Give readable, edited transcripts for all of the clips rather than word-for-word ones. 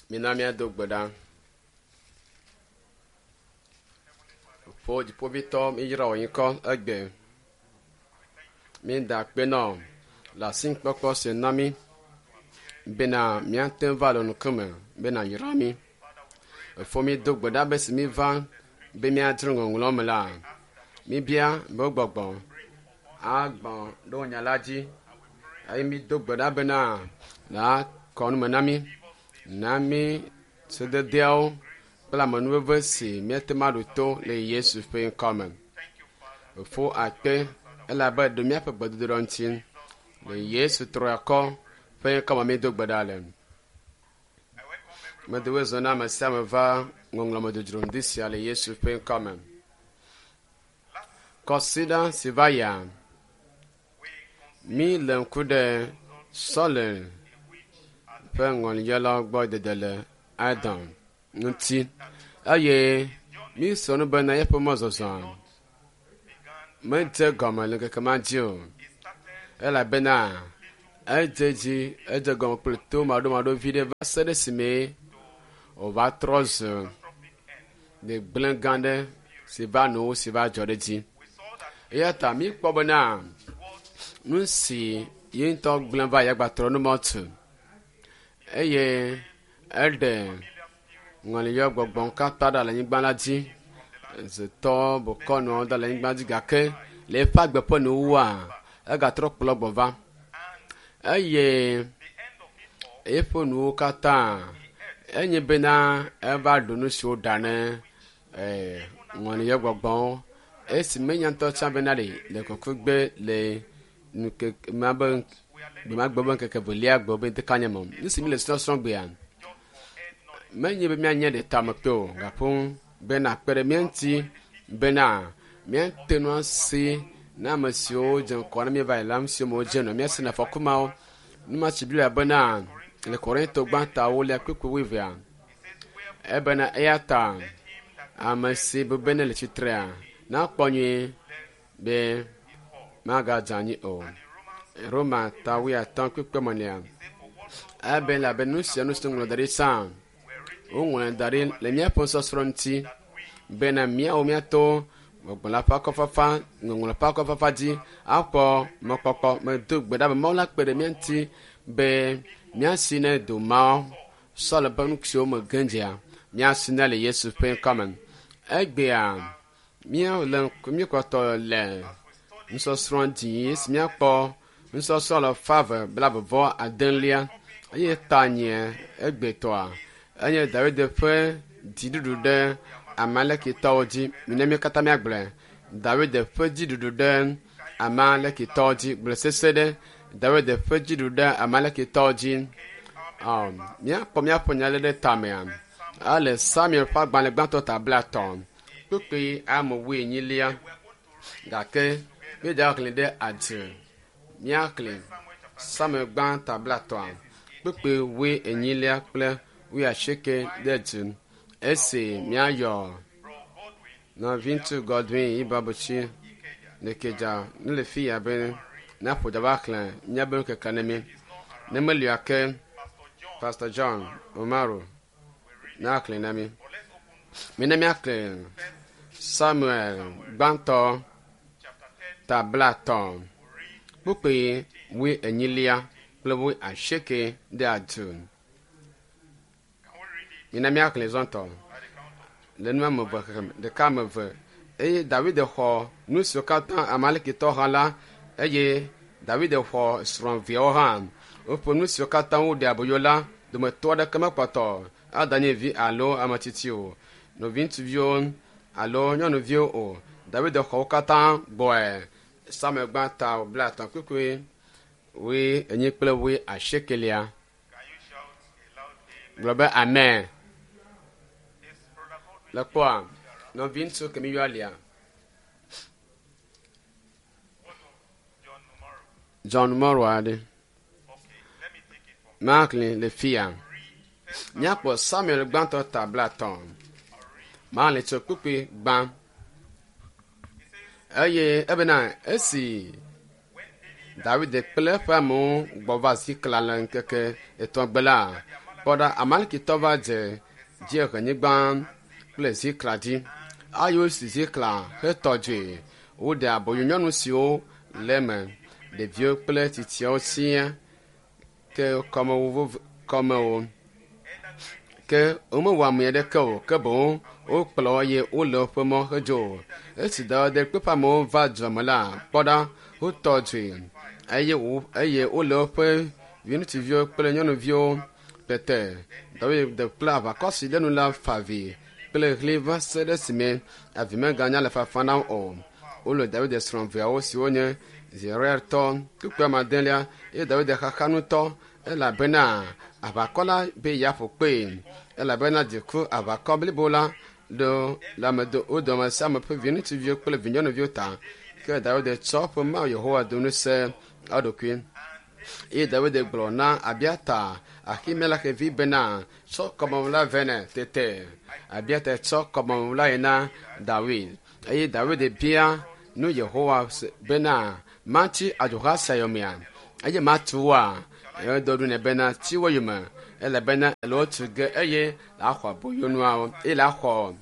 Mina míado gbe ɖa. Fofo Dziƒoʋĩtɔ, míyra wò ŋkɔ egbe. Mída akpe nɔ le asikpɔkpɔ si na mí bena míate ŋu va le ŋkume be nàyra mí. Efo mído gbe ɖa be si míva be míadzro ŋɔŋlɔ me la, míbia be wò gbɔgbɔ agbɔ ɖe wò nya la dzi eye mído gbe ɖa bena nàkɔ nu me na mí, na mí sededeawo kple amenuveve si míate ŋu aɖo to le Yesu ƒe ŋkɔ me. Fofo akpe elabe ɖo míaƒe gbedodoɖa ŋuti le Yesu triakɔ ƒe ŋkɔ me míedo gbe ɖa le. Medo wezɔ na ame sia ame va ŋɔŋlɔme dzodzro ŋdi sia le Yesu ƒe ŋkɔ me. Kɔsiɖa si va yia, mí le ŋku ɖe Sɔle ƒe ŋɔliyɔlawo gbɔ dede le Adam ŋuti eye mí sɔ nu bena eƒe mɔzɔzɔ medze gɔme le ŋkeke ma dzi o elabena edze dzi edze gɔme kple to maɖomaɖo vi ɖe va se ɖe esime wòva trɔ zu gbegblẽ gã ɖe si va nuwo si va dzɔ ɖe dzi. Eya ta míkpɔ bena nu si ye ŋutɔ gblẽ va yagbatrɔ nu mɔ tu eye eɖe ŋɔliyɔ gbɔgbɔ katã ɖa le anyigba la dzi. Zetɔ bokɔnɔwo da le anyigba dzi gake le eƒe agbe ƒe nuwuwua egatrɔ kplɔ gbɔ va eye eƒe nuwo katã enye bena eva ɖu nu si woɖa ne ŋɔliyɔ gbɔgbɔwo esi menya ŋutɔ tsã bena ɖe le kɔkɔgbe le ŋkeke ma be gbemagbe be ŋkeke velia gbe be ŋdeka nye me. Nu si mi le srɔ̃srɔ̃ gbea menye be míanye ɖe tame kpe o gaƒo bena akpe ɖe mía ŋuti bena míate ŋu asi na ame siwo dze ŋkɔ na míeva yi la nu siwo me wodze nɔ míasi na afɔku mawo. Nu ma tsi Biblia bena le Korinto gbãtɔ ewolia kpukpui wuievea ebena eya ta ame si bu be ne le tsitrea nakpɔ nyuie be magadze anyi o. Roma ta wuiatɔ̃ kpukpui emenea ebe elabe nu sia nu si woŋlɔ da ɖi sã woŋlɔe da ɖi le míaƒe nusɔsrɔ̃ ŋuti bena míawo míato gbɔgbɔ la ƒe akɔfafa ŋɔŋlɔ ƒe akɔfafa dzi akpɔ mɔkpɔkpɔ. Medo gbe ɖa be Mawu la kpe ɖe mía ŋuti be míasi ne do mawo sɔ le ƒe nu siwo me ge dzea míasi ne le Yesu ƒe ŋkɔ me. Egbea míele míekpɔtɔ le nusɔsrɔ̃ dzi esi míakpɔ nusɔsrɔ̃ le fave blaeve vɔ adelia eye tanye egbetɔa enye David ƒe dziɖuɖu ɖe Amalekitɔwo dzi. Mina mí katã míagblɔe. David ƒe dziɖuɖu ɖe Amalekitɔwo dzi. Gblɔ sese ɖe David ƒe dziɖuɖu ɖe Amalekitɔwo dzi. Míakpɔ míaƒe nya lé ɖe tamea. Ale Samuel ƒe agbalẽ gbãtɔ ta blaetɔ̃ kpukpui ame wuienyilia gake míedze xlẽ ɖe adze. Míaxlẽ Samuel gbã ta blaetɔ̃a kpukpui wuienyilia kple wuiasieke ɖe dzi. Esi míayɔ nɔviŋutsu Godwin Ibabuchi Nekedza ne le fi ya be naƒo dza va xlẽ míabe nukeke ne mí. Ne melia ke Pastor John Umaru naxlẽ na mí. Mina míaxlẽ Samuel gbãtɔ ta blaetɔ̃ kpukpui wuienyilia kple wuiasieke ɖe adu. Mina míaxlẽ zɔtɔ le nu ame eve xexlẽme ɖeka ame eve eye David xɔ nu siwo katã Amalekitɔ ha la eye David xɔ srɔ̃viawo hã. Woƒe nu siwo katã woɖe aboyo la dometɔ aɖeke mekpɔtɔ adanye vi alo ame tsitsi o, nɔviŋutsuviwo alo nyɔnuviwo o. David xɔ wo katã gbɔe. Samuel gbã ta blaetɔ̃ kpukpui wuienyi kple wuiasiekelia. Gblɔ be amen. Le kpɔa nɔviŋutsu kemi yɔ alia. John Mɔro aɖe. Maxlẽ le fia. Míakpɔ Samuel gbãtɔ ta blaetɔ̃. Maxlẽ tso kpukpui gbã. Eye ebena esi David kple eƒe amewo gbɔ va Zikla le ŋkeke etɔ̃ gbe la, Kpɔ ɖa, Amalekitɔ va dze dziehenyigba kple Zikla dzi. Eye wosi Zikla hetɔ dzoe. Woɖe aboyo nyɔnu siwo le eme, ɖeviwo kple tsitsiawo siaa ke kɔmewo. Ke womewɔ ame aɖeke o, ke boŋ wokplɔ wo eye wole woƒe mɔ hedzo. Esi Dawid kple eƒe amewo va dua me la, kpɔ ɖa, wotɔ dzoe eye wole woƒe viŋutsuviwo kple nyɔnuviwo. Tete Dawid kple aʋakɔ si ɖe nu la fa avi kple ɣli va se ɖe esime avi meganya le fafa na wo o. Wole Dawid srɔ̃ veawo siwo nye Zeruiatɔ kpukpui ame adelia eye Dawid xaxa ŋutɔ elabena aʋakɔ la be yeaƒo kpee elabena dziku aʋakɔ blibo la ɖo le ame do wo dome sia ame ƒe viŋutsuviwo kple vinyɔnuviwo ta. Ke Dawid tsɔ eƒe Mawu Yehowa do ŋusẽ eɖokui. Eye Dawid gblɔ na Abiata Ahimelek vi bena, tsɔ kɔmewu la vɛ nɛ. Tete Abiata tsɔ kɔmewu la yi na Dawid. Eye Dawid bia nu Yehowa bena, matsi adzoha sia yomea? Eye matu woa? Eye do ɖo nɛ bena, tsi wo yome, elabena ele wo tu ge eye lãxɔ aboyonuawo eye lãxɔ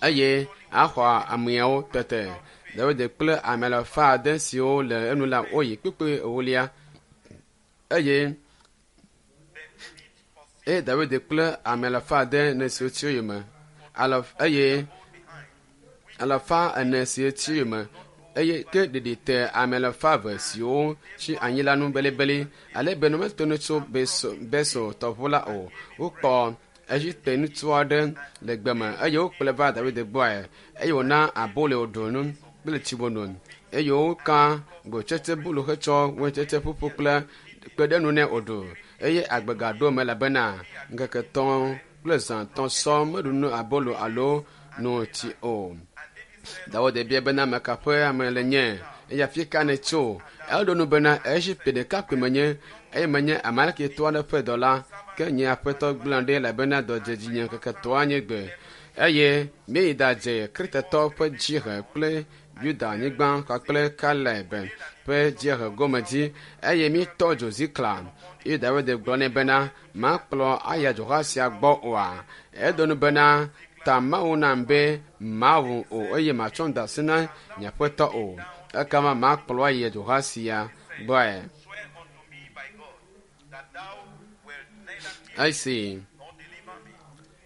eye axɔ ameawo. Tete Dawid kple ame alafa ade siwo le enu la woyi kpukpui ewolia eye eye Dawid kple ame alafa ade ne siwo tsi yome eye alafa ene siwo tsi yome eye ke ɖeɖi te ame alafa eve siwo tsi anyi la nu belibeli ale be ne wometo nu tso Beso tɔʋu la o. Wokpɔ Egipte ŋutsu aɖe le gbe me eye wokplɔe va Dawid gbɔe eye wòna abolo wòɖu nu kple tsi wòno eye woka gotsetse bulu hetsɔ waintsetse ƒuƒu kple kpe ɖe nu nɛ wòɖu eye agbe gaɖo eme elabena ŋkeke etɔ̃ kple zã etɔ̃ sɔ meɖu nu abolo alo no tsi o. Dawid bia bena ame ka ƒe ame le nye eye afi ka nètso? Eɖo nu bena Egipte ɖekakpui menye eye menye Amalekitɔ aɖe ƒe dɔla. Ke nye aƒetɔ gblẽ ɖi elabena dɔ dze dzinye ŋkeke etɔ̃a nye gbe. Eye míeyi ɖadze Kretetɔwo ƒe dziehe kple Yuda nyigba kpakple Kaleb ƒe dziehe gome dzi eye míetɔ dzo Zikla. Eye Dawid gblɔ nɛ bena, makplɔ aya dzoha sia gbɔ oa? Edo nu bena, ta Mawu nam be mawu o eye matsɔm de asi na nye aƒetɔ o. Ekema makplɔ ayi dzoha sia gbɔe. Swear unto me by God that thou wilt neither kill Esi nor deliver me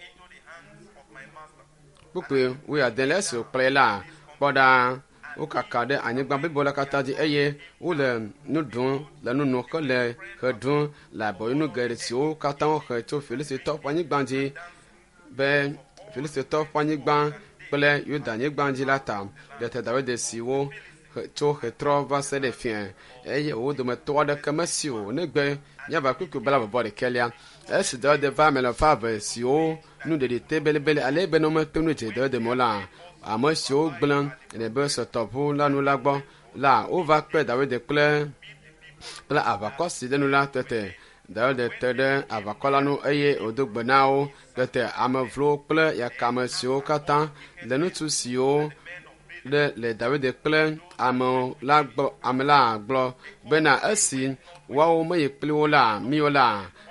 into the hands of my master. kpukpui wuiade le esi wòkplɔe la, kpɔ ɖa, wokaka ɖe anyigba blibo la katã dzi eye wole nu ɖum le nu nom hele ɣe ɖum le aboyonu geɖe siwo katã wohe tso Filistitɔwo ƒe anyigba dzi be Filistitɔwo ƒe anyigba kple Yuda nyigba dzi la ta. Tete Dawid si wo tso ɣetrɔ va se ɖe fiẽ eye wo dometɔ aɖeke mesi o negbe míava kpukpui blaeve ɖekɛlia. Esi Dawid va ame alafa eve siwo nu ɖeɖi te belibeli ale be ne wometo nu dze Dawid me o la, ame siwo gblẽ le Besor tɔʋu la nu la gbɔ la, wova kpe Dawid kple kple aʋakɔ si ɖe nu la. Tete Dawid te ɖe aʋakɔ la nu eye wòdo gbe na wo. Tete ame vlowo kple yakame siwo katã le ŋutsu siwo ɖe le Dawid kple ame la gbɔ ame la gblɔ bena esi woawo meyi kpli wo la míwo la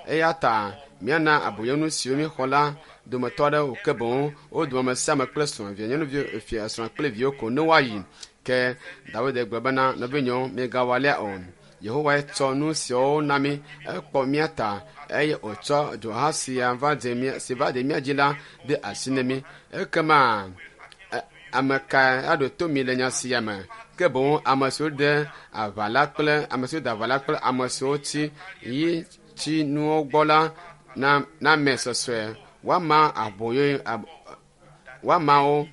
eya ta míana aboyonu siwo míexɔ la dometɔ aɖewo ke boŋ wo dome ame sia ame kple srɔ̃ via nyɔnuvi fia srɔ̃ kple viwo ko ne woayi. Ke Dawid gblɔ bena nɔvinyewo migawɔ alea o. Yehowae tsɔ nu siawo na mí ekpɔ mía ta eye wòtsɔ dzoha sia va dze mía si va dze mía dzi la de asi na mí. Ekema ame kae aɖo to mi le nya sia me? Ke boŋ ame siwo de aʋa la kple ame siwo de aʋa la kple ame siwo tsi yi tsi nuwo gbɔ la na na ame sɔsɔe woama aboyo ab, woama wo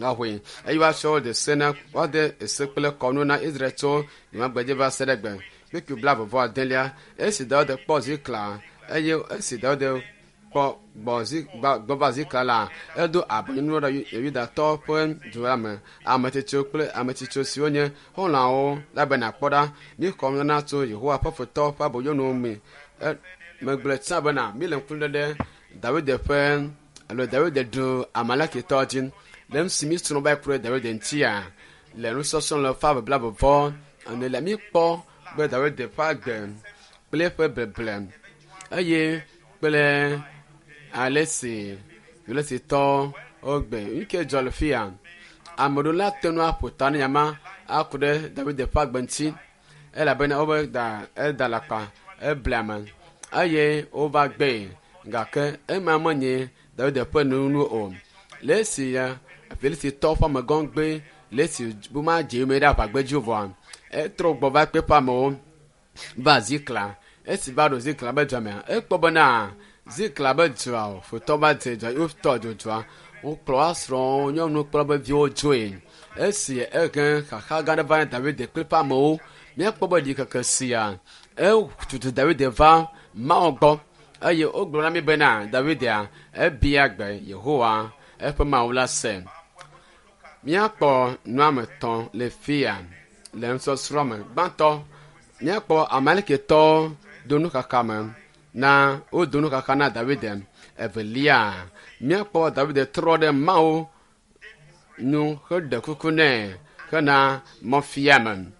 gahoe eye woatsɔ wo de se na woade ese kple kɔnu na Israel tso gbemagbedzi va se ɖe gbe. Kpukpui blaeve vɔ adelia esi Dawid kpɔ Zikla eye esi Dawid kpɔ gbɔ zi gbɔ va Zikla la, edo aboyonuwo ɖe Yudatɔwo ƒe du la me. Ame tsitsiwo kple ame tsitsiwo siwo nye xɔlɔ̃awo la bena kpɔ ɖa, míexɔ nunana tso Yehowa ƒe futɔwo ƒe aboyonuwo me. Megblɔe tsã bena míle ŋku lé ɖe Dawid ƒe alo Dawid ɖu Amalekitɔwo dzi. Le nu si míesrɔ̃ va yi ku ɖe Dawid ŋutia, le nusɔsrɔ̃ le ƒe ave blaeve vɔ ene la míekpɔ be Dawid ƒe agbe kple eƒe beble eye kple kple ale si Filistitɔwo wogbe. Nu ke dzɔ le fia, ame ɖewo la te ŋu aƒo ta ne nya ma aku ɖe David ƒe agbe ŋuti elabena wobe da eda alakpa eble ame eye wova gbee gake ema menye David ƒe nunu o. Le esi ya Filistitɔwo ƒe amegã gbe le esi womadze yome ɖe aʋagbedzi o vɔa, etrɔ gbɔ va kpe eƒe amewo va Zikla. Esi va ɖo Zikla be dua mea, ekpɔ bena Zikla be dua futɔ va dze dua wotɔ dzo dua. Wokplɔ woa srɔ̃wo, nyɔnuwo kple woƒe viwo dzoe. Esi ehe xaxa gã aɖe va na David kple eƒe amewo. Míakpɔ be ɖikeke sia etutu David va Mawu gbɔ eye wogblɔ na mí bena Davidia ebia gbe Yehowa eƒe Mawu la se. Míakpɔ nu ame etɔ̃ le fia le nusɔsrɔ̃ me. Gbãtɔ, míakpɔ Amalekitɔwo do nuxaxa me na wodo nuxaxa na David. Evelia, míakpɔ David trɔ ɖe Mawu nu heɖe kuku nɛ hena mɔfiame.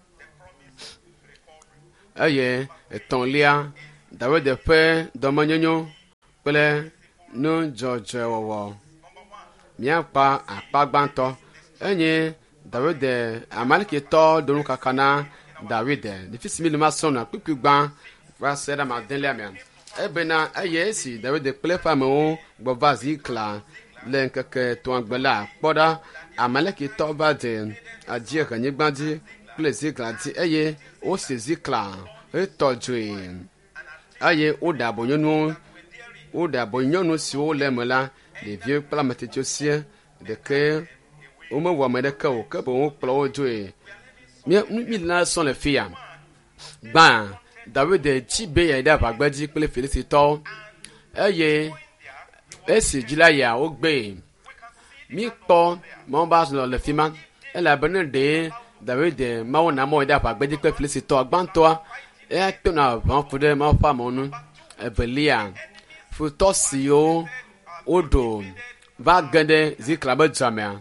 Eye etɔ̃lia, David ƒe dɔmenyonyo kple nudzɔdzɔewɔwɔ. Míakpɔ akpa gbãtɔ enye David Amalekitɔ do nuxaxa na David. Le fi si mi le ma srɔ̃ nua kpukpui gbã va se ɖe ame adelia mea. Ebena eye esi David kple eƒe amewo gbɔ va Zikla le ŋkeke etɔ̃a gbe la, kpɔ ɖa, Amalekitɔ va dze adziehenyigba dzi kple Zikla dzi eye wosi Zikla hetɔ dzoe eye woɖe aboyonu woɖe aboyonu siwo le eme la, ɖeviwo kple ame tsitsiwo sia ɖeke womewɔ ame ɖeke o ke boŋ wokplɔ wo dzoe. Mía mi la sɔ le fia. Gbã, David tsi be yeayi ɖe aʋagbedzi kple Filistitɔwo eye esi dzi la yia wogbee. Míkpɔ Mawu be azɔ le fi ma elabena ɖe David Mawu na mɔ yi ɖe aʋagbedzi kple Filistitɔwo gbãtɔa eya to na aʋa ku ɖe Mawu ƒe amewo ŋu. Evelia, futɔ siwo woɖo va ge ɖe Zikla be dua mea,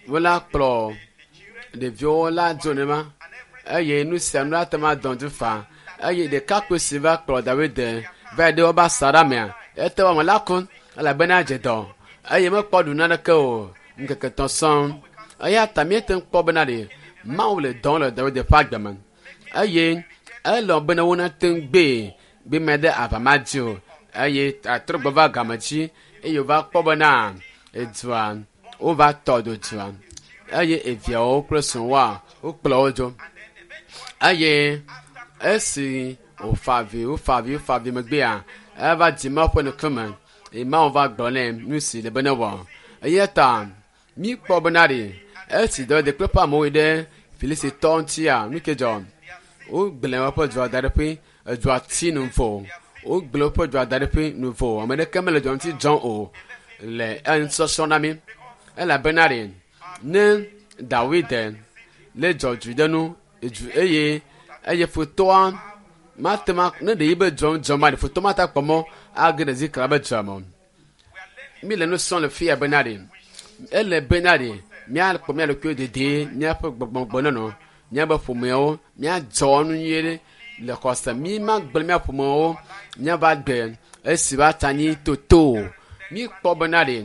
wola kplɔ ɖeviwo la dzo nenema eye nu sia nu la te ŋu adɔ du faa eye ɖekakpui si va kplɔ David va yi ɖe woƒe asaɖa mea, ete ŋu ame la ku elabena edze dɔ eye mekpɔ ɖu naneke o ŋkeke etɔ̃ sɔŋ. Eya ta míete ŋu kpɔ bena ɖe Mawu le dɔ wɔm le David ƒe agbe me eye elɔ̃ bena wonate ŋu gbee be mede aʋa ma dzi o eye atrɔ gbɔ va game dzi eye wòva kpɔ bena edua wova tɔ dzo dua eye eviawo kple srɔ̃woa wokplɔ wo dzo eye esi wòfa avi wofa avi wofa avi megbea eva dzi Mawu ƒe ŋkume eye Mawu va gblɔ nɛ nu si le be newɔ. Eya ta míkpɔ bena ɖe esi David kple eƒe amewo yi ɖe Filistitɔwo ŋutia nu ke dzɔ. Wogblẽ woƒe dua da ɖe ƒe edua ti nuvo. Wogblẽ woƒe dua da ɖe ƒe nuvo. Ame ɖeke mele dua ŋuti dzɔm o le enusɔsrɔ̃ na mí elabena ɖe ne Dawid le dzɔ du ɖe nu edu eye eye futɔa mate ŋu ne ɖe yi be dua ŋu dzɔm ma ɖe futɔ mate akpɔ mɔ age ɖe Zikla be dua me o. Mi le nu srɔ̃m le fia bena ɖe ele bena ɖe míakpɔ mía ɖokuiwo dedie míaƒe gbɔgbɔgbenɔnɔ míaƒe ƒomewo míadzɔ nu nyuie ɖe le xɔse mi magblẽ mía ƒomewo míava gbe esi va tsa anyi toto o. Míkpɔ bena ɖe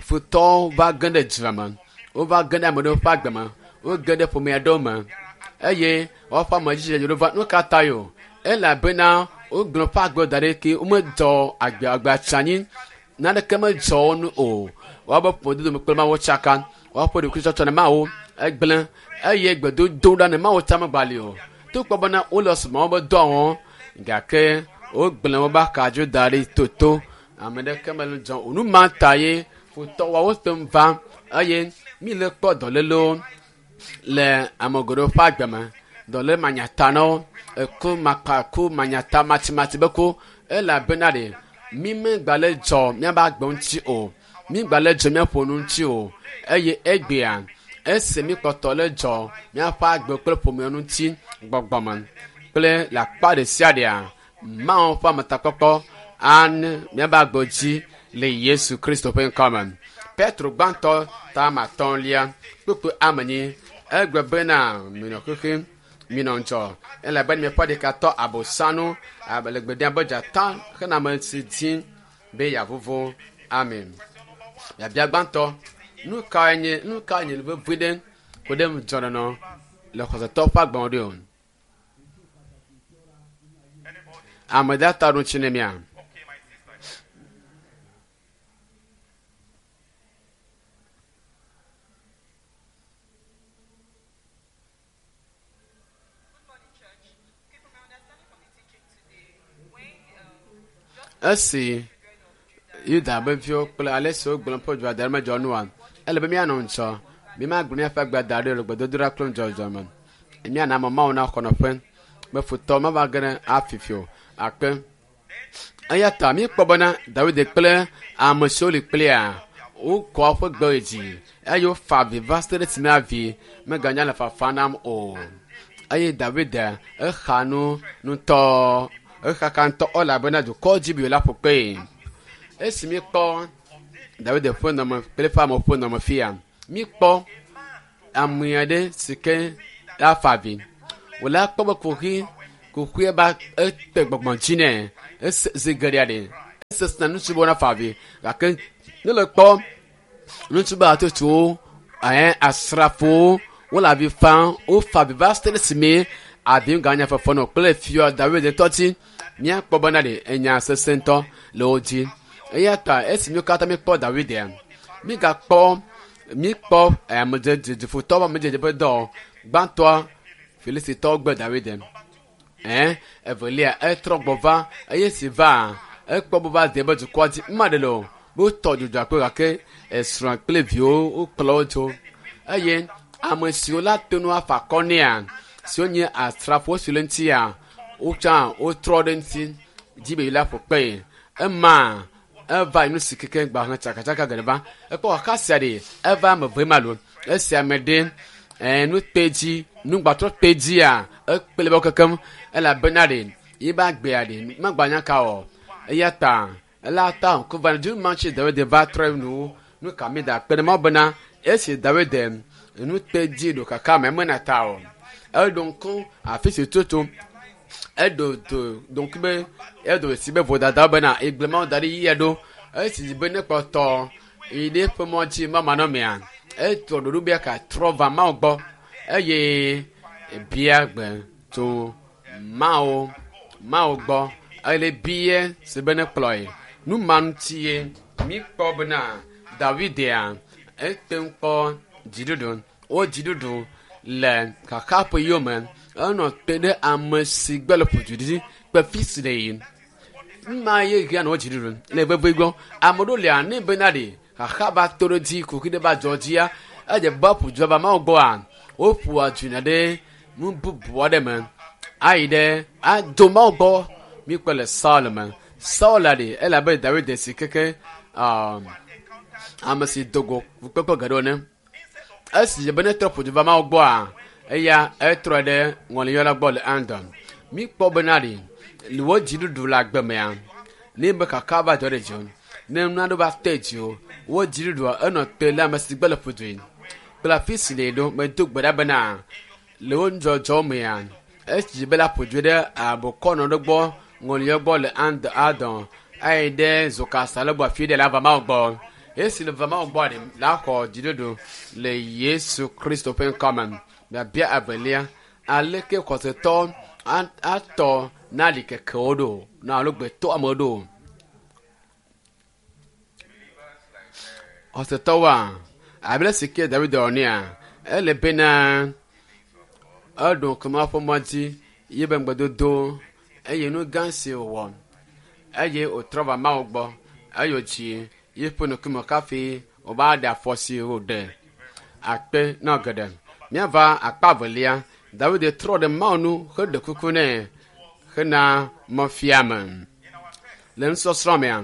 futɔwo va ge ɖe dua me wova ge ɖe ame ɖewo ƒe agbe me woge ɖe ƒome aɖewo me eye woƒe ame dzi ɖe va nu ka ta o elabena wogblẽ woƒe agbe da ɖi ke womedzɔ agbe agbea tsi anyi naneke medzɔ wo nu o woabe ƒomedodo kple Mawu tsaka woaƒe ɖokuitsɔtsɔ na Mawu egblẽ eye gbedodo ɖa ne Mawu tsa megbali o togbɔ bena wole sumɔ wobe dɔa wɔm gake wogblẽ wobe akadzo da ɖi toto ame ɖeke mele dzɔm o nu ma ta ye futɔwoawo te ŋu va eye mi le kpɔ dɔlélewo le ame geɖewo ƒe agbe me dɔléle manyatanawo eku makpa ku manyata matimati be ku elabena ɖe mi megba le dzɔ míaƒe agbe ŋuti o mi gba le dzɔ míaƒe nu ŋuti o eye egbea esi mi kpɔtɔ le dzɔ míaƒe agbe kple ƒomewo ŋuti gbɔgbɔme kple le akpa ɖe sia ɖea Mawu ƒe ametakpɔkpɔ ane míaƒe agbe dzi le Yesu Kristo ƒe ŋkɔ me. Petro gbãtɔ ta ame atɔ̃lia kpukpui ame enyi egblɔ bena minɔ xexi Minɔ ŋudzɔ elabe miaƒe ɖeka tɔ abosanu abe le gbe ɖem abe dzata hena ame si dim be yeavuvu. Amen. Biabia gbãtɔ, nu kae nye nu kae nye nu vevi ɖe ku ɖe ŋudzɔnɔnɔ le xɔsetɔ ƒe agbe me ɖo? Ame ɖe ata ɖo ŋuti ne mia? Okay, my sister. Good morning, church. Okay, from my understanding from the teaching today, when just Esi children of Judah Yuda be viwo kple ale si wogblɔ ƒe dua da ɖe medzɔ nua, ele be míanɔ ŋudzɔ. Mímagblẽ míaƒe agbe da ɖi le gbedodoɖa kple ŋudzɔdzɔ me. Míana ame Mawu naxɔ nɔƒe be futɔ mava ge ɖe afifi o. Akpe. Eya ta míekpɔ bena Dawid kple ame siwo li kplia wokɔ woƒe gbe yi dzi eye wofa avi va se ɖe esime avi meganya le fafa nam o. Eye Dawid exa nu ŋutɔ, exaka ŋutɔ elabena dukɔ dzi be la ƒo kpee. Esi míekpɔ Dawid ƒe nɔme kple eƒe amewo ƒe nɔme fia, míekpɔ ame aɖe si ke afa avi. Wòle akpɔ be kuxi kuxia ba ete gbɔgbɔ dzi nɛ ese zi geɖea ɖe esesina ŋutsu be wonafa avi gake ne le kpɔ ŋutsu be hatsotsowo ɛɛ asrafowo wole avi fam wofa avi va se ɖe esime avi ganya fefe nɔ kple fia Dawid ŋutɔ dzi míakpɔ bena ɖe enya sesẽ ŋutɔ le wo dzi eya ta esi míwo katã míekpɔ Dawid mígakpɔ míkpɔ amedzedzefotɔwo ƒe amedzedze ƒe dɔ gbãtɔa Filistitɔwo gbe Dawid ɛn evelia etrɔ gbɔ va eye si va ekpɔ be va de be dukɔa dzi ma ɖe le o be wotɔ dzudzɔ akpe gake esrɔ̃ kple viwo wokplɔ wo dzo eye ame siwo la to nu afa akɔ nɛa siwo nye asrafowo siwo le ŋutia wotsã wotrɔ ɖe ŋuti dzi be la ƒo kpe ema eva yi nu si keke gba hã tsakatsaka geɖe va ekpɔ xaxa sia ɖe eva ame ve ma lo esi ame ɖe ɛɛ nu kpe dzi nugbatrɔ kpe dzia ekple be kekem elabena ɖe yi ba gbea ɖe magbanya ka o eya ta ela ta ŋku va dzi ma tsi Dawid va trɔ nu nu ka mi da kpe ɖe Mawu bena esi Dawid nu kpe dzi ɖo kaka me mena ta o eɖo ŋku afi si tutu eɖo do do ŋku be eɖo si be vodada bena egble Mawu da ɖi yia ɖo esi be ne kpɔtɔ yi ɖe eƒe mɔ dzi mamanɔmea etrɔ ɖoɖo be ka trɔ va Mawu gbɔ eye bia gbe tso Mawu Mawu gbɔ ele bie si be ne kplɔe nu ma ŋuti ye míkpɔ bena Davidia ete ŋu kpɔ dziɖuɖu wo dziɖuɖu le xaxa ƒe yome enɔ te ɖe ame si gbe le ƒodu dzi kple fi si le yi ma ye hia nɔ dziɖuɖu le veve gbɔ ame ɖewo lia ne bena ɖe xaxa va to ɖe dzi kuxi ɖe va dzɔ dzia edze be ƒodu va Mawu gbɔa woƒoa dzina ɖe nu bubu aɖe me ayi ɖe ado Mawu gbɔ míkpɔ le Saul me Saul ɖe elabe Dawid si keke ame si do go kpekpe geɖewo ne esi be ne trɔ ƒodu va Mawu gbɔa eya etrɔ ɖe ŋɔliyɔla gbɔ le Andon míkpɔ bena ɖe le wo dziɖuɖu le agbe mea ne be kaka va dzɔ ɖe dzi o ne nu aɖe va te dzi o wo dziɖuɖua enɔ te le ame si gbe le ƒodoe kple afi si le ɖo medo gbe ɖa bena le wo nudzɔdzɔ mea esi be la ƒodoe ɖe abɔkɔnɔ ɖe gbɔ ŋɔliyɔ gbɔ le And Adon ayi ɖe zokasa le gbɔ afi ɖe la va Mawu gbɔ esi le va Mawu gbɔ ɖe la xɔ dziɖuɖu le Yesu Kristo ƒe ŋkɔ me biabia evelia aleke xɔsetɔ atɔ na ɖikekewo ɖo na alo gbetɔ amewo ɖo xɔsetɔwoa abe le si ke Dawid wɔ nea ele bena eɖo ŋku Mawu ƒe mɔ dzi ye be ŋugbedodo eye nu gã si wòwɔ eye wòtrɔ va Mawu gbɔ eye wòdzi yeƒe ŋkume kafi wòva ɖe afɔ si wòɖe akpe na geɖe. Míava akpa evelia Dawid trɔ ɖe Mawu nu heɖe kuku nɛ hena mɔfiame. Le nusɔsrɔ̃ mea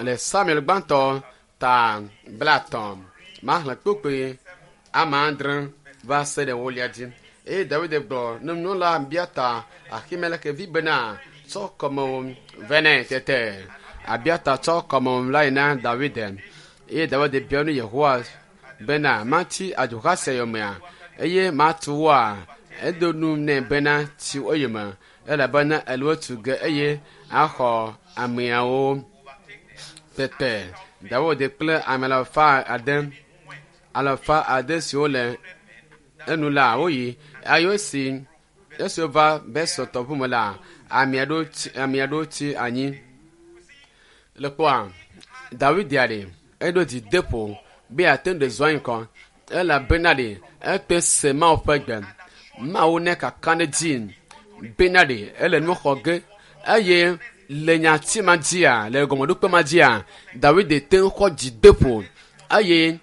le Samuel gbãtɔ ta 30 maxlẽ kpukpui ame adre va se ɖe ewolia dzi. Eye Dawid gblɔ ne nunɔla Abiata Ahimelek vi bena tsɔ kɔmewo vɛ nɛ tete Abiata tsɔ kɔmewo la yi na Dawid eye Dawid bia nu Yehowa bena matsi adzoha sia yomea eye matu woa Edo nu nɛ bena tsi wo yome elabena ele wo tu ge eye axɔ ameawo. Tete Dawid kple ame 600 siwo le enu la woyi eye esi wova Besor tɔʋu me la, ame aɖewo tsi anyi. Le kpɔa Dawid ɖe eɖo dzi de ƒo be yeate ŋu ɖe zɔ ŋkɔ elabena ɖe ekpe se Mawu ƒe gbe. Mawu ne kaka ɖe dzi bena ɖe ele nu xɔ ge eye le nyati ma dzia le gɔmeɖokpe ma dzia Dawid te ŋu xɔ dzi de ƒo eye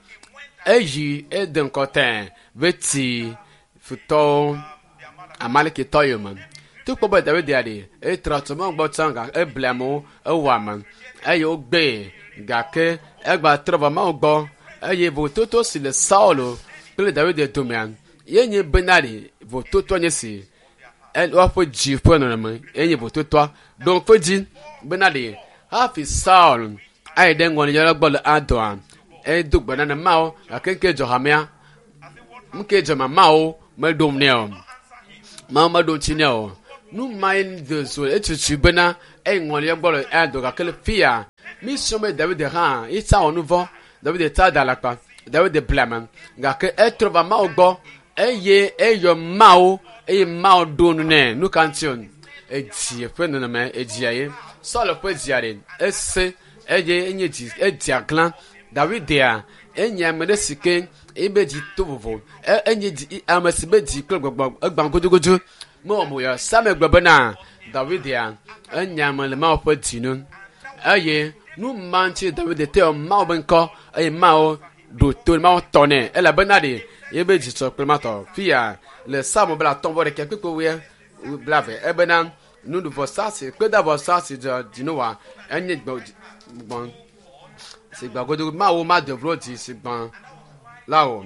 eyi ede ŋkɔ tẽ ve ti futɔwo Amalekitɔ yome. Togbɔ be Dawid ɖe etra tso Mawu gbɔ tsã gake eble amewo ewɔ ame eye wogbee gake egba trɔ va Mawu gbɔ eye vototo si le Saulo kple Dawid domea ye nye bena ɖe vototoa nye si woaƒe dzi ƒe nɔnɔme enye vototoa ɖo ŋku dzi bena ɖe hafi Saul ayi ɖe ŋɔlidzɔla gbɔ le adɔa edo gbe na ne Mawu gake ŋke dzɔ hamea ŋke dzɔ mamawo meɖom nɛ o. Mawu meɖo ŋuti nɛ o. Nu mae de zo etutui bena eyi ŋɔlia gbɔ le adɔ gake le fia mi srɔ̃ be Dawid hã yetsa wɔ nu vɔ̃. Dawid tsa da alakpa. Dawid ble ame gake etrɔ va Mawu gbɔ eye eyɔ Mawu eye Mawu ɖo nu nɛ. Nu ka ŋuti o? Edzi ƒe nɔnɔme edzia ye. Saul ƒe dzia ɖe ese eye enye dzi edzi aglã. Dawid enye ame ɖe si ke ebe dzi to vovo. Enye dzi ame si be dzi kple gbɔgbɔ egbã godogodo. Mewɔ mo ya Samuel gblɔ bena Dawid enye ame le Mawu ƒe dzi nu eye nu ma ŋuti Dawid te yɔ Mawu be ŋkɔ eye Mawu ɖo to Mawu tɔ nɛ elabena ɖe ebe dzi sɔ kple matɔ. Fia le Psalmo 51 kpukpui 20 ebena nuɖuvɔsa si kpedavɔsa si dzɔ dzi nu wa enye gbɔn si gbã godogo Mawu mado vlo dzi si gbã la o.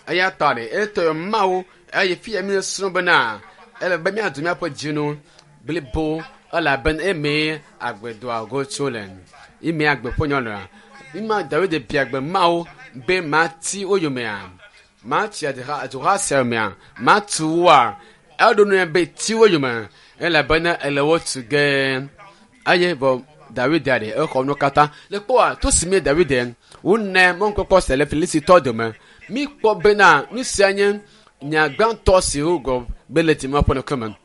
Eya ta ɖe etɔ yɔ Mawu eye fia mi srɔ̃ bena ele be míado míaƒe dzinu blibo elabena emee agbedoa go tso le ime agbe ƒe nyɔnua. Ima Dawid bia gbe Mawu be mati wo yomea mati aduha sia yomea matu woa eɖo nu be ti wo yome elabena ele wo tu ge eye vɔ Dawid ɖe exɔ nu katã le kpɔa to si mi Dawid wone mɔnukpɔkpɔ se le Filistitɔ dome. Mi kpɔ bena nu sia nye nya gbãtɔ si wogɔ be le dzime ƒe ŋkume.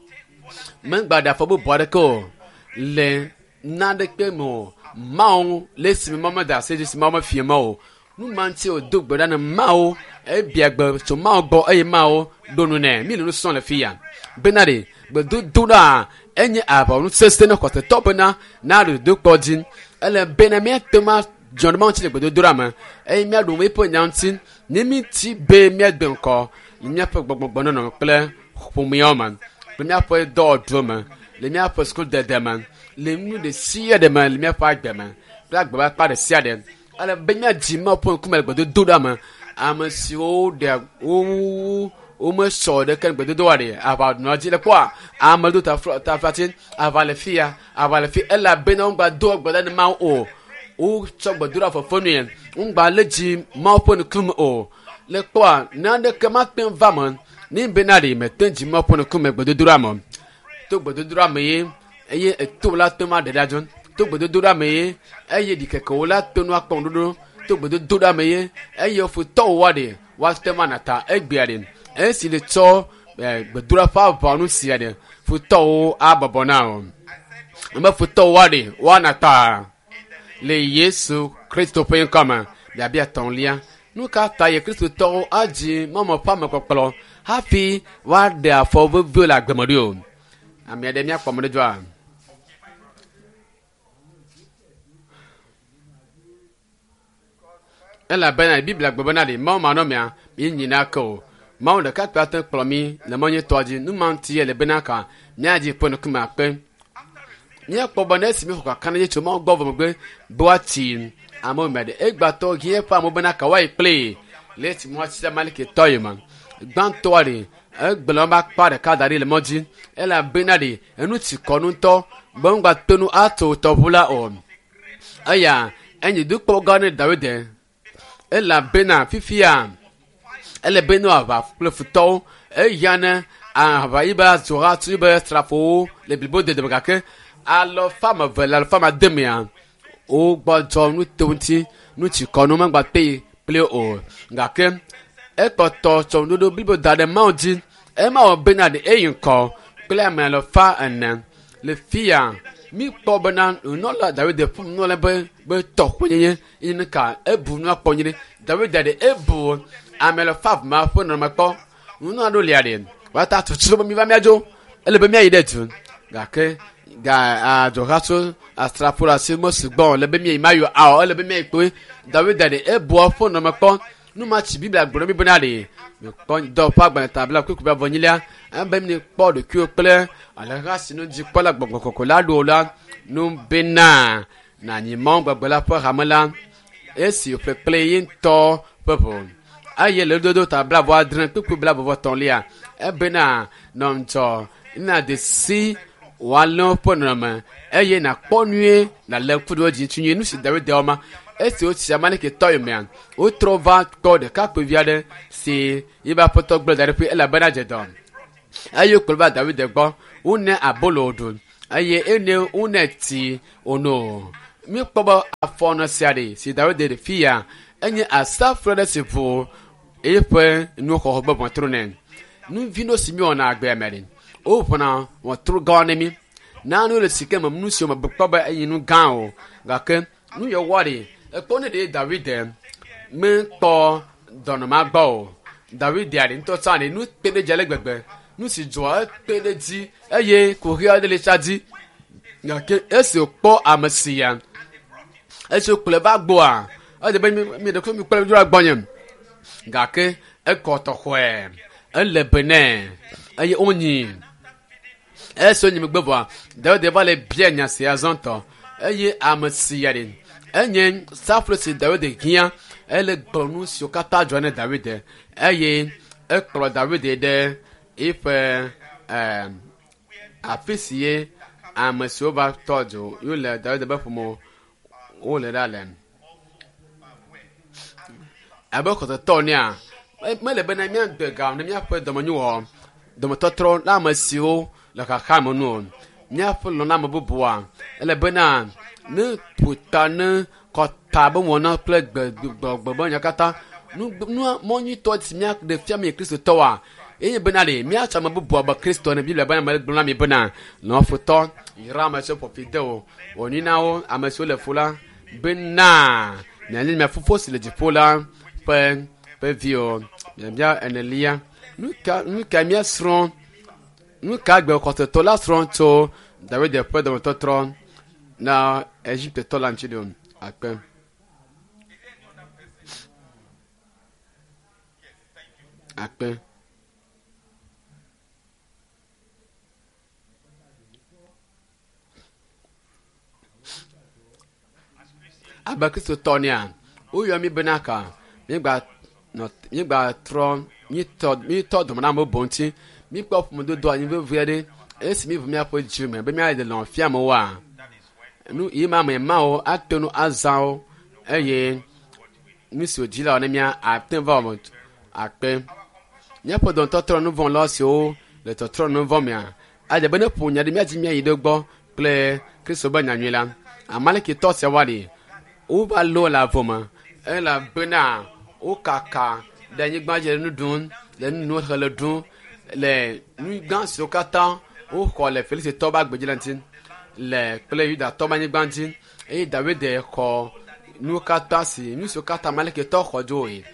Megba ɖe afɔ bubu aɖeke o le naɖeke me o. Mawu le esime Mawu mede asi dzi si Mawu mefia me o. Nu ma ŋuti wòdo gbe ɖa ne Mawu ebia gbe tso Mawu gbɔ eye Mawu ɖo nu nɛ. Mi le nu srɔ̃m le fia bena ɖe gbedodoɖa enye aʋawɔnu sesẽ ne xɔsetɔ bena naɖo dodokpɔ dzi. Ele bena míate ŋu adzɔ ɖe Mawu ŋuti le gbedodoɖa me eye míaɖo eƒe nya ŋuti ne míti be míade ŋkɔ le míaƒe gbɔgbɔnɔnɔ kple ƒomeawo me kple míaƒe dɔwɔɖuwo me le míaƒe sukudede me le nu ɖe sia ɖe me le míaƒe agbe me kple agbe ƒe akpa ɖe sia ɖe. Ele be míadzi Mawu ƒe ŋkume le gbedodoɖa me. Ame siwo ɖea wo womesɔ ɖeke le gbedodoɖa ɖe aʋa nɔa dzi le kpɔa ame do taflatsi aʋa le fia aʋa le fi elabena womegba do gbe ɖa ne Mawu o. Wotsɔ gbedoɖa fefe nue womegba lé dzi Mawu ƒe ŋkume o. Le kpɔa naneke mate ŋu va me ne bena ɖe mete dzi Mawu ƒe ŋkume gbedodoɖa me. To gbedodoɖa me ye eye eto la te ŋu aɖe ɖa dzo. To gbedodoɖa me ye eye ɖikekewo la te ŋu akpɔ ŋuɖoɖo. To gbedodoɖa me ye eye futɔwo wa ɖe woate ŋu ana ta egbea ɖe esi le tsɔ gbedoɖa ƒe aʋawɔnu sia ɖe futɔwo abɔbɔ na o. Ame futɔwo wa ɖe woana ta le Yesu Kristo ƒe ŋkɔ me. Biabia etɔ̃lia nu ka ta ye Kristotɔwo adzi Mawu ƒe amekpɔkplɔ hafi woaɖe afɔ veviwo le agbe me ɖo o? Ame aɖe míakpɔ ame ɖe dzoa? Elabena Biblia gblɔ bena ɖe Mawu manɔmea mi nyina ke o. Mawu ɖeka kpe ate kplɔ mi le mɔ nyuitɔa dzi. Nu ma ŋuti ele bena ka míadzi ƒe ŋkume akpe. Míakpɔ be ne esi míexɔ kakaɖedzi tso Mawu gbɔ vɔ megbe be woatsi amewo me ɖe egbatɔ ɣi eƒe amewo bena ka woayi kpli le esi woatsi Amalekitɔ yome. Gbãtɔa ɖe egblẽ woƒe akpa ɖeka da ɖi le mɔ dzi elabena ɖe enu tsi kɔ ŋutɔ be womegate ŋu atso tɔʋu la o. Eya enye dukpɔ gã ne Dawid elabena fifia ele be ne wòaʋa kple futɔwo eya ne Aʋa yi be azɔha tu yi be srafowo le blibo dede me gake alɔfa me ve le alɔfa me ade mea wogbɔdzɔ nu te ŋuti nu tsi kɔ nu megba te kple o gake ekpɔtɔ tsɔ nuɖoɖo blibo da ɖe mawu dzi ema wɔ bena ɖe eyi ŋkɔ kple ame alɔfa ene le fia mi kpɔ bena nunɔla Dawid ƒe nunɔla be be tɔƒenyenye yi nu ka ebu nua kpɔ nyuie Dawid ɖe ebu ame alɔfa ma ƒe nɔnɔme kpɔ nunɔla ɖo lia ɖe wata tutu be mi va miadzo ele be miayi ɖe du gake ga adzɔha tso asrafo le asi mesugbɔ le be miayi mayo awɔ ele be miayi kpoe Dawid ɖe ebua ƒe nɔnɔme kpɔ nu ma tsi Biblia gblɔ mi bena ɖe kpɔ dɔ ƒe agbalẽ ta bla kuku bla vɔnyilia ebe mi kpɔ ɖokuiwo kple aleha si nu dzi kpɔ la gbɔgbɔ kɔkɔ la ɖo la nu bena nanyi mɔ gbɔgbɔ la ƒe hame la esi wòƒle kple ye ŋutɔ ƒe ʋu eye le dodo ta bla vɔ adre kpukpu bla vɔ tɔ̃lia ebena nɔ ŋdzɔ na de si wòalé woƒe nɔnɔme eye nàkpɔ nyuie nàlé ŋku ɖe wo dzi ŋuti nyuie nu si Dawid wɔ ma esi wotsi Amalekitɔ yomea wotrɔ va kpɔ ɖekakpuivi aɖe si yiƒe aƒetɔ gblẽ da ɖe ƒe elabena dze dɔ eye wokplɔ va Dawid gbɔ wone abolo wòɖu eye ene wone tsi wòno míekpɔ be afɔnɔ sia ɖe si Dawid ɖe fi ya enye asafo aɖe si ʋu eƒe nuxɔxɔ be ʋɔtru nɛ nu vi ɖewo si míewɔna agbea me ɖe woʋuna ʋɔtru gã ne mí nanewo le si ke me nu siwo me kpɔ be enye nu gã o gake nu yɔ wɔ ɖe ekpɔ ne ɖe Dawid mekpɔ dɔnɔma gbɔ o Dawid ɖe ŋutɔ tsã ɖe nu kpe ɖe dzi ale gbegbe nu si dzɔa ekpe ɖe dzi eye kuxi aɖe le tsa dzi gake esi wòkpɔ ame sia esi wòkplɔe va gbɔa edze be mi ɖe mi kplɔe dzroa gbɔnye gake ekɔ tɔxɔe ele be nɛ eye wonyi esi wonyi megbe vɔa Dawid va le bia nya sia zɔntɔ eye ame sia ɖe enye saflo si Dawid hiã ele gblɔ nu siwo katã dzɔ ne Dawid eye ekplɔ Dawid ɖe eƒe ɛɛ afi si ye ame siwo va tɔ dzo yo le Dawid be ƒome wole ɖa le abe xɔsetɔ nea mele bena míagbe ga ne míaƒe dɔmenyowɔ dɔmetɔtrɔ na ame siwo le xaxa me nu o míaƒe lɔname bubua ele bena ne ƒota ne kɔta be wɔna kple gbegbɔgbe be nya katã nu nua mɔ nyuitɔ si míaɖe fia mi kristotɔwoa eye bena ɖe míatsɔ ame bubua be kristo ne Biblia bena mele gblɔ na mi bena lɔ̃ futɔ yra ame siwo ƒo fi de o wɔ nyui na wo ame siwo le fu la bena mianye mia fofo si le dziƒo la ƒe ƒe viwo miabia enelia nu ka nu ka míasrɔ̃ nu ka gbe xɔsetɔ la srɔ̃ tso Dawid ƒe dɔmetɔtrɔ na Egiptetɔ la ŋuti ɖo akpe. Akpe. Abe Kristotɔ nea, woyɔ mí bena ka mígba nɔ mígba trɔ mítɔ mítɔ dɔme na ame bubu ŋuti míkpɔ ƒomedodo anyi vevi aɖe esi míʋu míaƒe dzi me be míaɖe lɔ̃ fia amewoa nu yi ma ame mawo ate ŋu azã wo eye nu si wòdzi la wɔ ne mía ate ŋu va wɔ akpe míaƒe dɔmetɔtrɔ nu vɔ̃ la siwo le tɔtrɔ nu vɔ̃ mea adze be ne ƒo nya ɖe míadzi míayi ɖe gbɔ kple Kristo be nyanyui la Amalekitɔ sia wa ɖi wova lɔ le avɔ me elabena wokaka ɖe anyigba dzi le nu ɖum le nu nom hele ɖum le nu gã siwo katã woxɔ le Filistitɔwo ƒe agbedzi la ŋuti le kple Yudatɔwo ƒe anyigba ŋuti eye Dawid xɔ nuwo katã si nu siwo katã Amalekitɔwo xɔ dzoe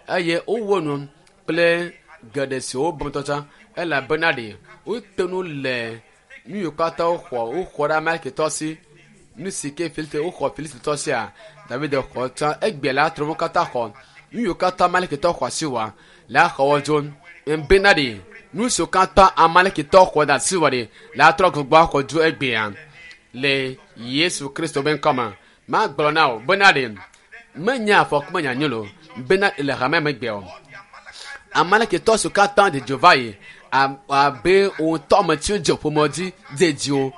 eye wowɔ nu kple geɖe siwo wobɔ ŋutɔ tsã elabena ɖe wote nu le nu yiwo katã woxɔ woxɔ ɖe Amalekitɔ si nu si ke Filisti woxɔ Filistitɔ sia David xɔ tsã egbe la trɔ wo katã xɔ nu yiwo katã Amalekitɔ xɔ asi wa la xɔ wo dzo bena ɖe nu siwo katã Amalekitɔ xɔ ɖe asi wa ɖe la trɔ gbogbo axɔ dzo egbea le Yesu Kristo be ŋkɔme magblɔ na wo bena ɖe menye afɔku menya nyo lo bena le hame megbe o Amalekitɔ siwo katã dze dzo va yi abe wo ŋutɔ ame tsiwo dze ƒome dzi dze dziwo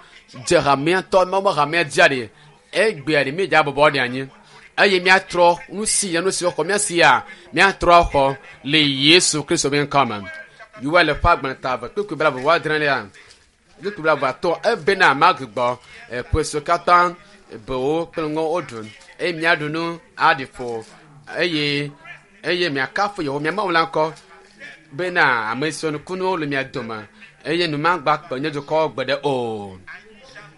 dze hamea tɔ mɔmɔ hamea dzia ɖe egbea ɖe míedze abɔbɔ ɖe anyi eye míatrɔ nu si ya nu si xɔ mía si ya míatrɔ axɔ le Yesu Kristo be ŋkɔ me. Yoel ƒe agbalẽ ta eve kpukpui blaeve vɔ adrelia kpukpui blaeve atɔ̃ ebena magbugbɔ eƒe siwo katã bewo kple ŋɔ woɖu eye miaɖu nu aɖi ƒo eye eye miakafu Yehowa mia Mawu la ŋkɔ bena ame siwo nukunuwo le mia dome eye nu magba kpe nye dukɔ gbeɖe o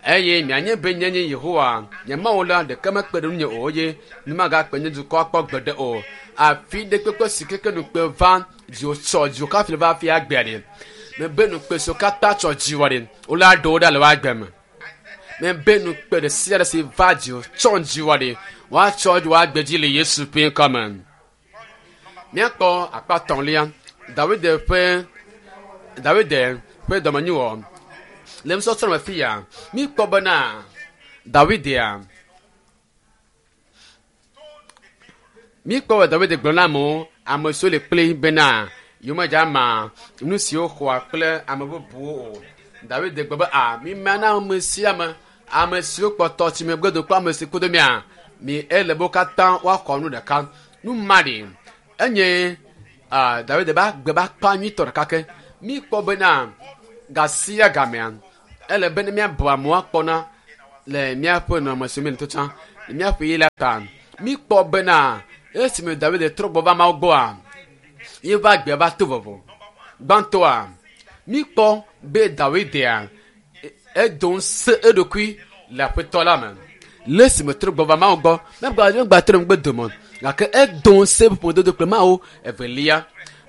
eye mianye be nye nye Yehowa nye Mawu la ɖeke mekpe ɖe ŋunye o eye nu magakpe nye dukɔ akpɔ gbeɖe o. Afi ɖe kpekpe si keke nukpe va dziwò tsɔ dziwò kafi le va hafi agbea ɖe. Mebe nukpe siwo katã tsɔ dziwò ɖe wole aɖe wo ɖa le woagbe me. Mebe nukpe ɖe sia ɖe si va dziwò tsɔ dziwò ɖe woatsɔ woagbe dzi le Yesu ƒe ŋkɔ me. Míakpɔ akpa tɔ̃lia Dawid ƒe Dawid ƒe dɔmenyuwɔ le nusɔsrɔ̃ me fia míkpɔ bena Dawidia míkpɔ be Dawid gblɔ na amewo ame siwo le kpli bena yewomedze ama nu siwo xɔa kple ame bubuwo o. Dawid gblɔ be a mima na ame sia ame ame siwo kpɔtɔ tsi megbe do kple ame si kudo mia mi ele be wo katã woaxɔ nu ɖeka. Nu ma ɖi enye a Dawid be agbe be akpa nyuitɔ ɖeka ke míkpɔ bena gasia gamea ele be ne míabu amewo akpɔna le míaƒe nɔnɔme si me le to tsã le míaƒe yi la ta míkpɔ bena esime Dawid trɔ gbɔ va Mawu gbɔa yeƒe agbea va to vovo. Gbãtɔa míkpɔ be Dawidia edo ŋusẽ eɖokui le aƒetɔ la me le esime trɔ gbɔ va Mawu gbɔ megba megba trɔ megbe dome gake edo ŋusẽ eƒe ƒomedodo kple Mawu evelia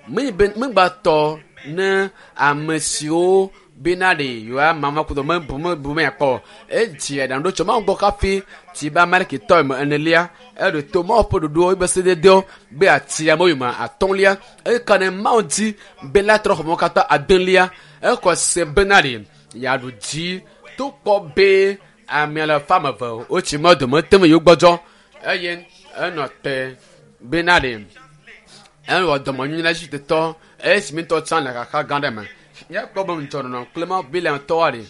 menye be megba tɔ ne ame siwo bena ɖe yewoama ma kudo mebu mebu meyakpɔ o. Edzi aɖaŋu ɖo tso Mawu gbɔ hafi tsi be Amalekitɔ eme enelia eɖo to Mawu ƒe ɖoɖowo eƒe sededewo be ati amewo yome atɔ̃lia eka ne Mawu dzi be la trɔ xɔmewo katã adelia exɔ se bena ɖe yeaɖu dzi tokpɔ be ame alafa ame eve wotsi mɔ dome te me yewo gbɔdzɔ eye enɔ te bena ɖe ewɔ dɔmenyui na Egiptetɔ esi ŋutɔ tsã le xaxa gã ɖe me. Míakpɔ be ŋudzɔnɔnɔ kple Mawu Bileamtɔwoa ɖe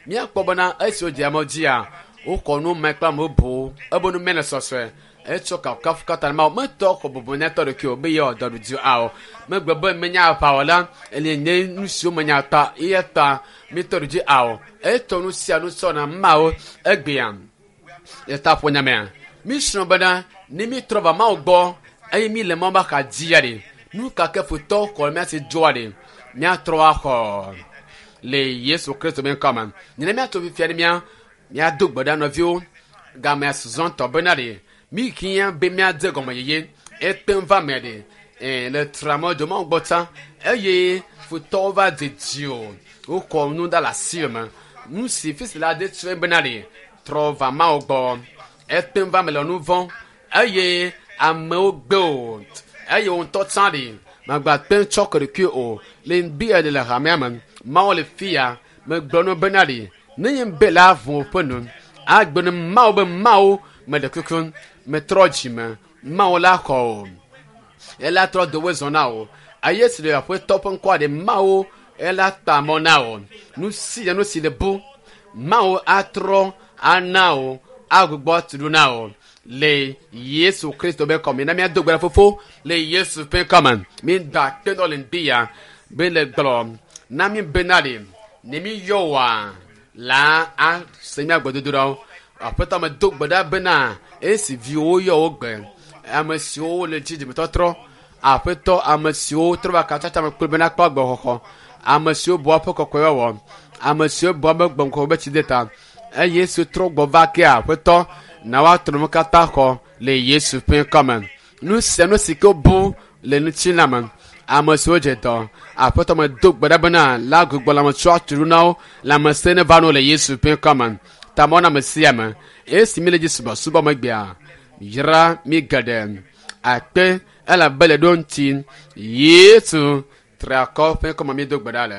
míakpɔ bena esi wodze amewo dzia wokɔ nu me kple ame bubuwo ebe nu me le sɔsɔe etsɔ kafukafu katã na Mawu metɔ xɔ bubu na etɔ ɖokui o be yewɔ dɔ ɖu dzi ao megbe be menya aʋawɔla ele nye nu siwo menya ta eya ta mitɔ ɖu dzi ao etɔ nu sia nu sɔ na Mawu egbea le taƒonya mea mísrɔ̃ bena ne mítrɔ va Mawu gbɔ eye mí le Mawu be axa dzia ɖe nu ka ke futɔ xɔ mía si dzoa ɖe míatrɔ axɔ le Yesu Kristo be ŋkɔ me. Nyina míatso fifia ɖe mía míado gbe ɖa nɔviwo gamea zɔntɔ bena ɖe mí hiã be míadze gɔme yeye ete ŋu va me ɖe ee le tramɔ dzo Mawu gbɔ tsã eye futɔwo va dzedzi o wokɔ nu da le asi me nu si fi si la de tsrɔe bena ɖe trɔ va Mawu gbɔ ete ŋu va me le nu vɔ̃ eye amewo gbe o eye wo ŋutɔ tsã ɖe magba te ŋu tsɔ ke ɖokui o le ŋdi eɖe le hamea me Mawu le fia megblɔ nu bena ɖe ne nye be la vɔ̃ ƒe nu agbe ne Mawu be Mawu meɖe kuku metrɔ dzime Mawu la xɔ o ela trɔ dowe zɔ na o eye si le aƒetɔ ƒe ŋkɔa ɖe Mawu ela ta mɔ na o nu sia nu si le bu Mawu atrɔ ana o agbugbɔ tu ɖo na o le Yesu Kristo be kɔme na míado gbe ɖa fofo le Yesu ƒe kɔme mída akpe dɔ le ŋdi ya be le gblɔ na mí bena ɖe ne mí yɔ woa la ase mía gbedodoɖawo aƒetɔ me do gbe ɖa bena esi viwo yɔ wo gbe ame siwo le dzi dzimetɔtrɔ aƒetɔ ame siwo trɔ va katsatsa me kple bena kpɔ agbexɔxɔ ame siwo bua ƒe kɔkɔewɔwɔ ame siwo bua be gbɔnkɔ be tsi de ta eye Yesu trɔ gbɔ va ke aƒetɔ na woatrɔ nu katã xɔ le Yesu ƒe ŋkɔme nu sia nu si ke wobu le ŋutilã me ame siwo dze dɔ aƒetɔ me do gbe ɖa bena la gbugbɔ lãmetsɔ atu ɖo na wo lãmesẽ ne va no le Yesu ƒe ŋkɔme tamɔ na ame sia ame esi mi le dzi subɔsubɔ megbea yra mi geɖe akpe elabe le ɖo ŋuti Yesu triakɔ ƒe ŋkɔme mi do gbe ɖa le.